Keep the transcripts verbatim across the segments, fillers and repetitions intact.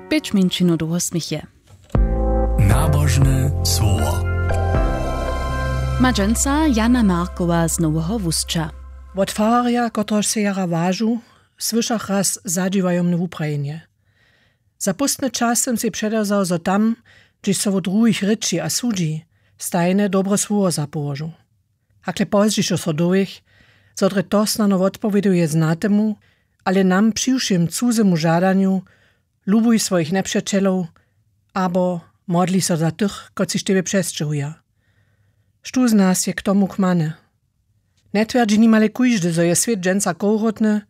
Pěć mjeńšinow dołho směch je. Nabožne słowo. Ma dźensa Jana Markowa z Noweho Wusća. Wot fararja, kotrehož sej jara wažu, słyšach raz zadźiwajomne wuprajenje. Za póstny čas sym sej předewzał, zo tam, hdźež so wot druhich rěči a sudźi, stajne dobre słowo zapołožu. Hakle pozdźišo so dowěch, zo drje to snano wotpowěduje znatemu, ale nam přiwšěm cuzemu žadanju: Lubuj swojich njepřećelow, abo: Modli so za tych, kotřiž tebje přesćěhuja. Štó z nas je k tomu kmany? Njetwjerdźi nimale kóždy, zo je swět dźensa kowrotny,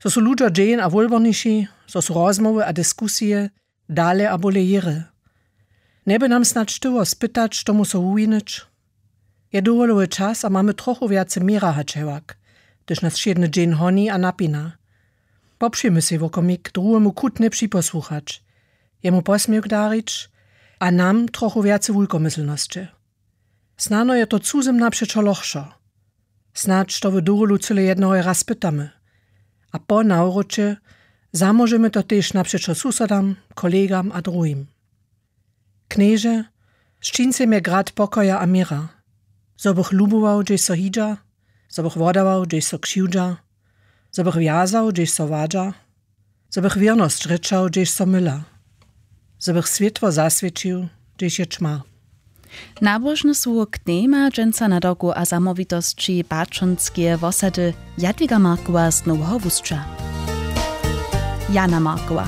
zo su ludźo dźeń a wólborniši, zo su rozmołwy a diskusije dale a bóle jěry. Njeby nam snadź tyło spytać, tomu so wuwinyć? Je dowolowy čas a mamy trochu wjace měra hač hewak, hdyž nas wšědny dźeń honi a napina. Popřijmy sej wokomik, druhemu chutnje připosłuchać, jemu posměwk darić a nam trochu wjace wulkomyslnosće. Snano je to cuzym napřećo lochšo. Snadź to w dowolu cyle jednoho raz pytamy. A po nawróće zamóžemy to tež napřećo susodam, kolegam a druhim. Knježe, sčincej mje grad pokoja a měra, zo bych lubował, hdźež so hidźa, zo bych wodawał, hdźež so křiwdźa, zo bych wjazał, hdźež so wadźa, zo bych wěrnosć rěčał, hdźež so myla, zo bych swětło zaswěćił, hdźež je ćma. Nabožne słowo k temje dźensa na doku a zamołwitosći baćonskeje wosady Jadwiga Markowa z Noweho Wusća. Jana Markowa.